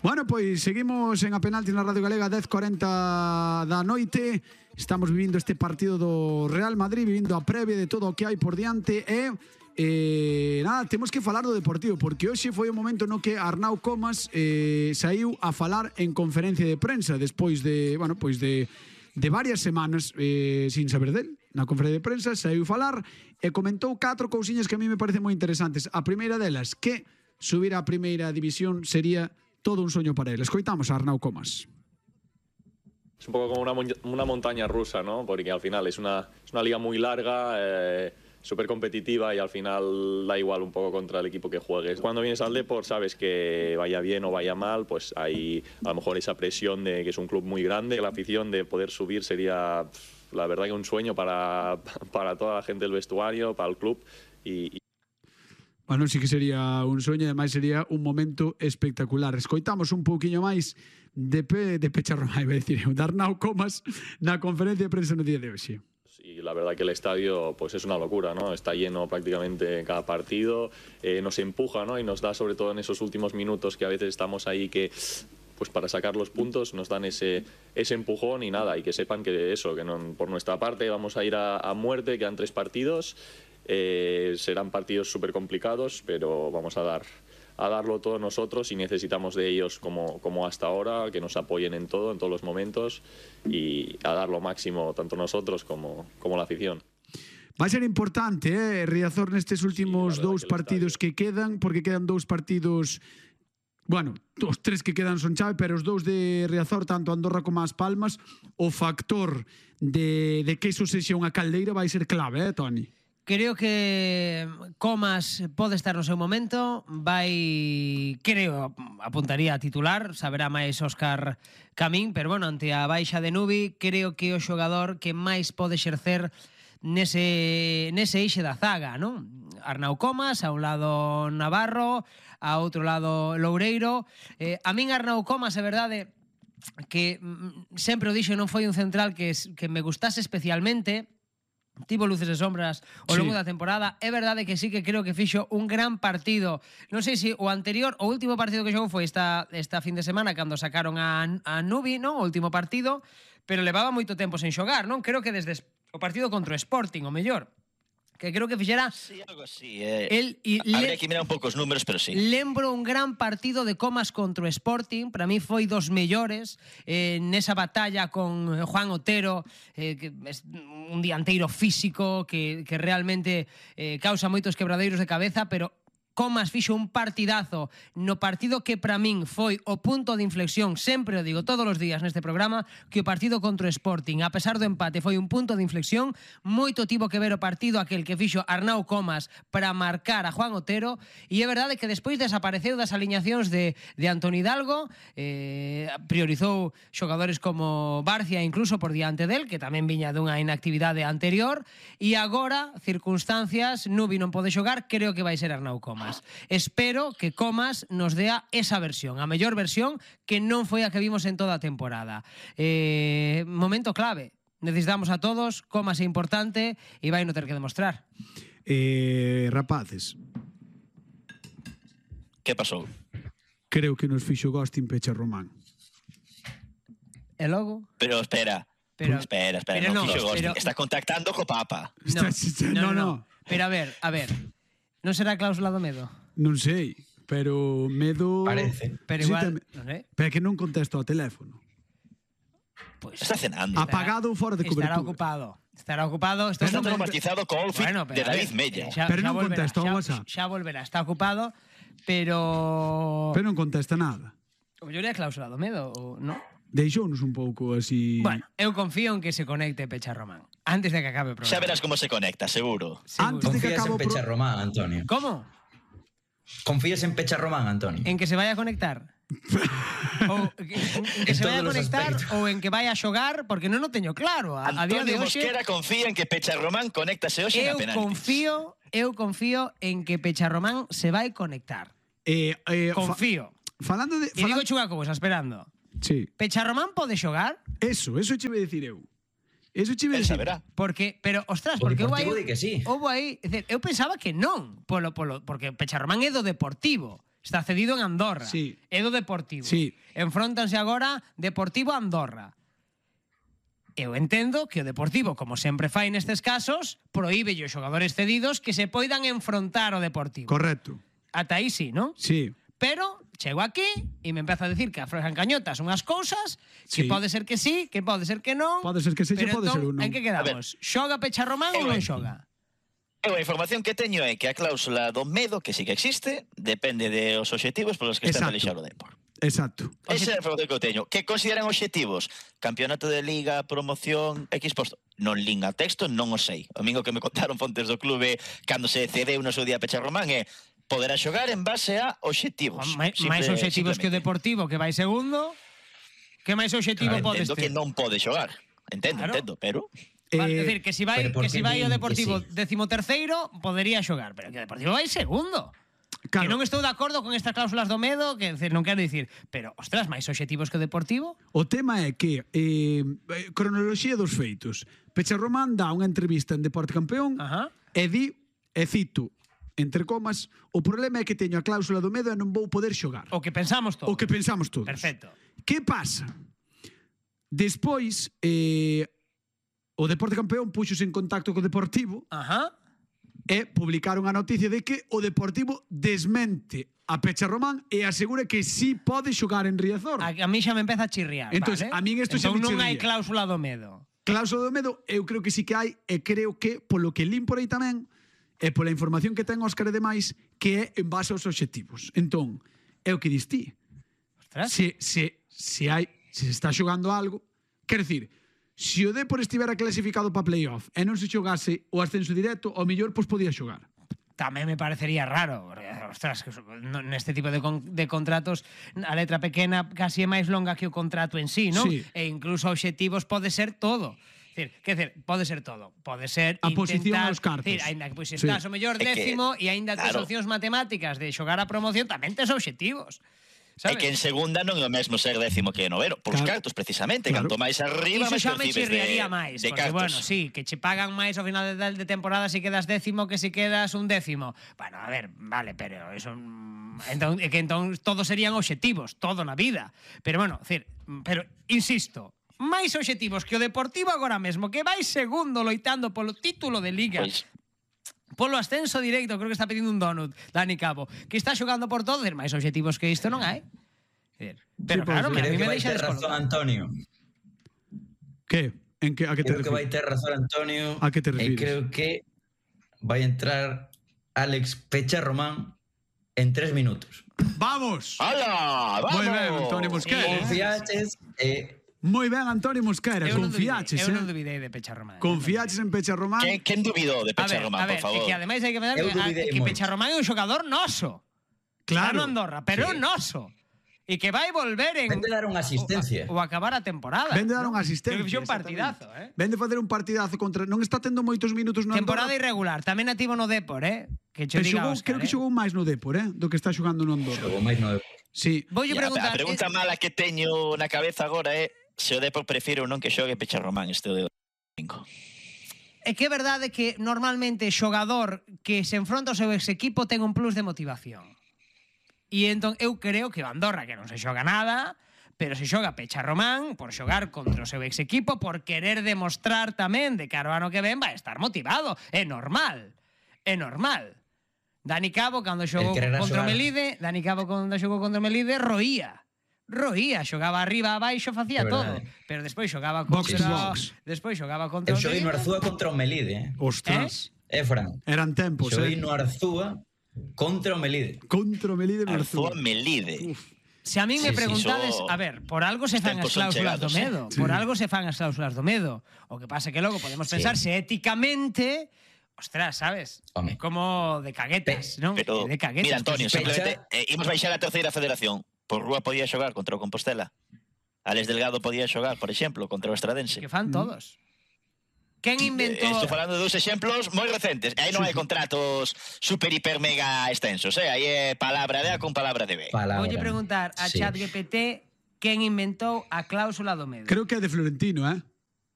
Bueno, pois seguimos en A Penalti na Radio Galega, 10:40 da noite. Estamos vivindo este partido do Real Madrid, vivindo a previa de todo o que hai por diante e nada, temos que falar do Deportivo, porque hoxe foi o momento no que Arnau Comas saiu a falar en conferencia de prensa despois de, bueno, pois de varias semanas sin saber del. Na conferencia de prensa saiu falar e comentou 4 cousiñas que a mí me parecen moi interesantes. A primeira delas, que subir á primeira división sería todo un soño para él. Escoitamos a Arnau Comas. Es un poco como una montaña rusa, ¿no? Porque al final es una liga muy larga, súper competitiva y al final da igual un poco contra el equipo que juegues. Cuando vienes al Depor sabes que vaya bien o vaya mal, pues hay a lo mejor esa presión de que es un club muy grande. La afición de poder subir sería, la verdad, que un sueño para toda la gente del vestuario, para el club y Bueno, sí que sería un soño, ademais sería un momento espectacular. Escoitamos un pouquiño máis de Pecharromán, iba a decir, de Arnau Comas na conferencia de prensa no día de hoxe. Y la verdad que el estadio pues es una locura, ¿no? Está lleno prácticamente cada partido, nos empuja, ¿no? Y nos da, sobre todo en esos últimos minutos que a veces estamos ahí que pues para sacar los puntos nos dan ese empujón y nada, y que sepan que eso, que no, por nuestra parte vamos a ir a muerte, quedan 3 partidos. Serán partidos súper complicados, pero vamos a darlo todo nosotros y necesitamos de ellos como hasta ahora, que nos apoyen en todo, en todos los momentos y a dar lo máximo tanto nosotros como la afición. Va a ser importante, Riazor, nestes últimos 2 partidos que quedan, porque quedan 2 partidos. Bueno, os 3 que quedan son chave, pero os 2 de Riazor, tanto Andorra como As Palmas, o factor de que iso sexa unha caldeira vai ser clave, Toni? Creo que Comas pode estar no seu momento, creo, apuntaría a titular, saberá máis Óscar Camín, pero bueno, ante a baixa de Nubi, creo que o xogador que máis pode exercer nese eixe da zaga, non? Arnau Comas, a un lado Navarro, a outro lado Loureiro. A min Arnau Comas, é verdade que sempre o dixo, non foi un central que me gustase especialmente, tivo luces e sombras ao longo da temporada. É verdade que sí que creo que fixo un gran partido. Non sei se o anterior, o último partido que xogou foi esta fin de semana cando sacaron a Nubi, non? O último partido, pero levaba moito tempo sen xogar, non? Creo que desde o partido contra o Sporting, o mellor, que creo que fixera... Sí, algo así. Habría que mirar un pouco os números, pero sí. Lembro un gran partido de Comas contra o Sporting. Para mí foi dos mellores nesa batalla con Juan Otero, que é un dianteiro físico que realmente causa moitos quebradeiros de cabeza, pero Comas fixo un partidazo no partido que para min foi o punto de inflexión, sempre o digo todos os días neste programa, que o partido contra o Sporting, a pesar do empate, foi un punto de inflexión. Moito tivo que ver o partido aquel que fixo Arnau Comas para marcar a Juan Otero, e é verdade que despois desapareceu das aliñacións de Antoni Hidalgo, priorizou xogadores como Barcia incluso por diante del, que tamén viña dunha inactividade anterior, e agora, circunstancias, Nubi non pode xogar, creo que vai ser Arnau Comas. Espero que Comas nos dea esa versión, a mellor versión, que non foi a que vimos en toda a temporada. Momento clave. Necesitamos a todos, Comas é importante e vai no ter que demostrar. Rapaces. Que pasou? Creo que nos fixo ghosting Pecharromán. E logo? Pero espera. Pero non fixo ghosting. Está contactando co Papa. No. Pero a ver. Non será cláusula do medo? Non sei, pero medo... Parece. Pero igual, non sei. Pero é que non contesto ao teléfono. Pues está cenando. Apagado ou fora de cobertura. Estará ocupado. Está traumatizado co outfit de David Mella. Pero non contesta ao WhatsApp. Xa volverá, está ocupado, pero... Pero non contesta nada. O mellor é a cláusula do medo, ou non? Deixounos un pouco así... Bueno, eu confío en que se conecte Pecharromán antes de que acabe o programa. Xa verás como se conecta, seguro. Antes de que Confías acabe en Pecharromán, Antonio. ¿Cómo? Confías en Pecharromán, Antonio. En que se vaya a conectar? Ou que se vaya a conectar ou en que vaya a xogar, porque non o teño claro. A día de Antonio hoxe Mosquera confía en que Pecharromán conéctase hoxe na penaltis. Eu confío en que Pecharromán se vai conectar. Confío. Falando de... E digo chugacobos, esperando. Sí. Pecharromán pode xogar? Eso che iba a decir eu. Eso che iba a decir. Porque, pero, ostras, porque eu pensaba que non, porque Pecharromán é do Deportivo. Está cedido en Andorra. Sí. É do Deportivo. Sí. Enfróntanse agora Deportivo a Andorra. Eu entendo que o Deportivo, como sempre fai nestes casos, prohíbe os xogadores cedidos que se poidan enfrontar ao Deportivo. Correcto. Ata aí sí, non? Sí. Pero chego aquí e me empeza a decir que aflojan cañotas unhas cousas, que Sí. pode ser que sí, que pode ser que non. Pode ser que sí, pero pode ser entón, un non. en que quedamos? Xoga Pecharromán ou non xoga? Eu a información que teño é que a cláusula do medo, que sí que existe, depende dos obxectivos polos que está a Exacto. pelexar o Depor. Exacto. Esa é a información que eu teño. Que consideran obxectivos? Campeonato de Liga, promoción, X posto. Non lín a texto, non o sei. O mingo que me contaron fontes do clube cando se cedeu no seu día a Pecharromán é poderá xogar en base a obxectivos. Máis obxectivos que o Deportivo, que vai segundo. Que máis obxectivo podes Entendo que ter? non pode xogar. Claro. Entendo, pero... Vale, decir, que si vai, pero por que si que vai o din que Deportivo sí? 13º, podería xogar, pero que o Deportivo vai segundo. Claro. Que non estou de acordo con estas cláusulas do medo, que decir, non quero dicir, pero, ostras, máis obxectivos que o Deportivo? O tema é que cronoloxía dos feitos. Pecharromán dá unha entrevista en Deporte Campeón Ajá. e di, e cito, entre comas, o problema é que teño a cláusula do medo e non vou poder xogar. O que pensamos todos. O que pensamos todos. Perfecto. Que pasa? Despois, o Deporte Campeón puxose en contacto co Deportivo Ajá. e publicaron a noticia de que o Deportivo desmente a Pecharromán e asegura que sí pode xogar en Riazor. A mí xa me empeza a chirriar, Entonces, vale? a min isto xa entón me non hai chirría. cláusula do medo. Cláusula do medo, eu creo que sí que hai, e creo que, polo que lin por aí tamén, e pola información que ten Óscar e demais, que é en base aos obxectivos. Entón, é o que dis ti. Ostras. Se se está xogando algo, quer decir, se o Depor estivera clasificado para playoff e non se xogase o ascenso directo, ao mellor pois podía xogar. Tamén me parecería raro, porque, ostras, que neste tipo de contratos a letra pequena casi é máis longa que o contrato en sí, non? Sí. E incluso obxectivos pode ser todo. Quer dizer, pode ser todo. Pode ser A posición intentar, aos cartos. Ainda que pois Sí. estás o mellor É que, décimo e aínda tes claro. opcións matemáticas de xogar a promoción, tamén tes obxectivos. É Sabes? que en segunda non é o mesmo ser décimo que noveno. Por os Claro. cartos, precisamente. Claro. Canto máis arriba, Iso máis xa me percibes chirriaría máis, de porque, cartos. bueno, sí, que che pagan máis ao final de temporada si quedas décimo que si quedas un décimo. Bueno, a ver, vale, pero eso... Entón, é que entón todos serían obxectivos, todo na vida. Pero, bueno, decir, pero, insisto, máis obxectivos que o Deportivo agora mesmo, que vai segundo loitando polo título de Liga, Pois, polo ascenso directo, creo que está pedindo un donut, Dani Cabo, que está xogando por todo, decir, máis obxectivos que isto non hai. Pero Sí, claro, pues, a Creo mí que me vai deixa ter razón descolocado. Antonio. Que? A que te Creo que vai refires? ter razón Antonio. A que te E refires? creo que vai entrar Alex Pecharromán en 3 minutos. Vamos! ¡Hala! ¡Vamos! Moi ben, Antonio Mosquera. Confiaches Moi ben, Antonio Mosquera, Eu non confiaches, eu non dubidei de Pecharromán. Confiaches en Pecharromán. Quen dubidou de A ver, Pecharromán, a ver, por favor? é que ademais hai que pensar Eu dubidei que moito. Pecharromán é un xogador noso. Está no Claro. Andorra, pero é Sí. noso. E que vai volver en... Vende dar unha asistencia. O acabar a temporada. Vende dar ¿no? unha asistencia. Creo que fixo un exactamente. partidazo, Vende facer un partidazo contra... Non está tendo moitos minutos no Temporada Andorra. irregular. Tamén nativo no Depor, Que che Pero diga xogou, Óscar, creo que xogou máis no Depor, do que está xogando no Andorra. Xogou máis no Sí. Voulle Ya, preguntar... a pregunta mala que teño na cabeza agora é se o Depor prefire ou non que xogue Pecharromán este domingo. É que é verdade que normalmente xogador que se enfronta ao seu ex equipo ten un plus de motivación. E entón eu creo que o Andorra, que non se xoga nada, pero se xoga Pecharromán por xogar contra o seu ex equipo, por querer demostrar tamén de cara ao ano que ven vai estar motivado. É normal. É normal. Dani Cabo, cando xogou quererá contra o xogar. Melide, roía, xogaba arriba, abaixo, facía É todo. verdade. Pero despois xogaba Box to contra... box. Despois xogaba contra Eu o xoguei no Melide. Arzúa contra o Melide, Ostras. Fran. Eran tempos, Xoguei no Arzúa contra o Melide. Contra o Melide Arzúa Marzúa. Melide. Se a min me Sí, sí, preguntades, iso- a ver, por algo se fan as tempos son cláusulas do chegados, medo, Sí. por algo se fan as cláusulas do medo. O que pasa é que logo podemos pensar se éticamente, ostras, sabes? Home. É como de caguetas, non? Pero, De caguetas. mira, Antonio, pues, simplemente imos baixar a terceira federación. Por Rúa podía xogar contra o Compostela. Alex Delgado podía xogar, por exemplo, contra o Estradense. que fan todos. Quen inventou... Estou falando de dos exemplos moi recentes. Aí non hai contratos super, hiper, mega extensos. Aí é palabra de A con palabra de B. Palabra. Voulle preguntar a Sí. ChatGPT quen inventou a cláusula do medo. Creo que é de Florentino,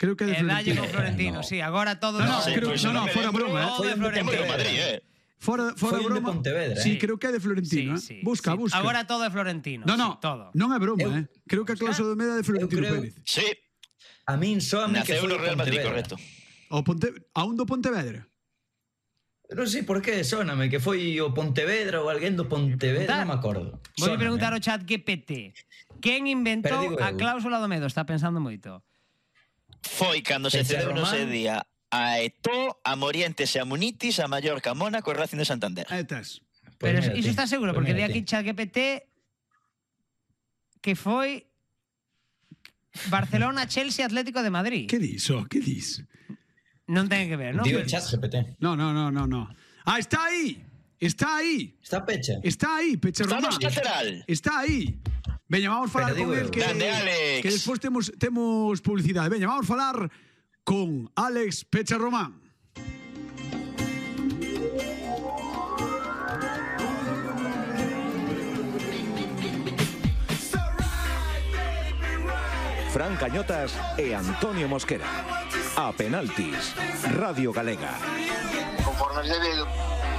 Creo que é de E dalle Florentino. con Florentino, No. sí, agora todo... No, Sí, creo- pois no, me fuera lembro broma, Todo de do tempo de Florentino. Madrid, Fora Foi un de broma. Pontevedra, Sí, creo que é de Florentino, Busca. Agora todo é Florentino. No, sí, todo. non é broma, Creo que a cláusula do medio é de Florentino creo- Pérez. Sí, A min soame que naceu foi no o Real Madrid, Pontevedra. correcto. A un do Pontevedra. Non sei por que soname que foi o Pontevedra ou alguén do Pontevedra, non me acordo. Vou Sóname. preguntar ao chat GPT. Quen inventou Pero digo a eu. cláusula do medo? Está pensando moito. Foi cando se Pecha cedeu no Román. ese día a Eto'o, a Morientes e a Munitis, a Mallorca, a Mónaco e Racing de Santander. Tes. Pois Pero mira iso ti, está seguro, pois porque di mira aquí ti. chat GPT que foi Barcelona, Chelsea, Atlético de Madrid. Que dis, Que dis? Non ten que ver, non? Digo chat GPT. No. Ah, está aí. Está aí. Está pecha. Está aí, Pecha Está Román. no lateral. Está aí. Veña, vamos falar Pero con digo el eu. que Grande, Alex. despois temos publicidade. Veña, vamos falar con Alex Pecha Román. Fran Cañotas e Antonio Mosquera. A penaltis, Radio Galega. Conforme se ve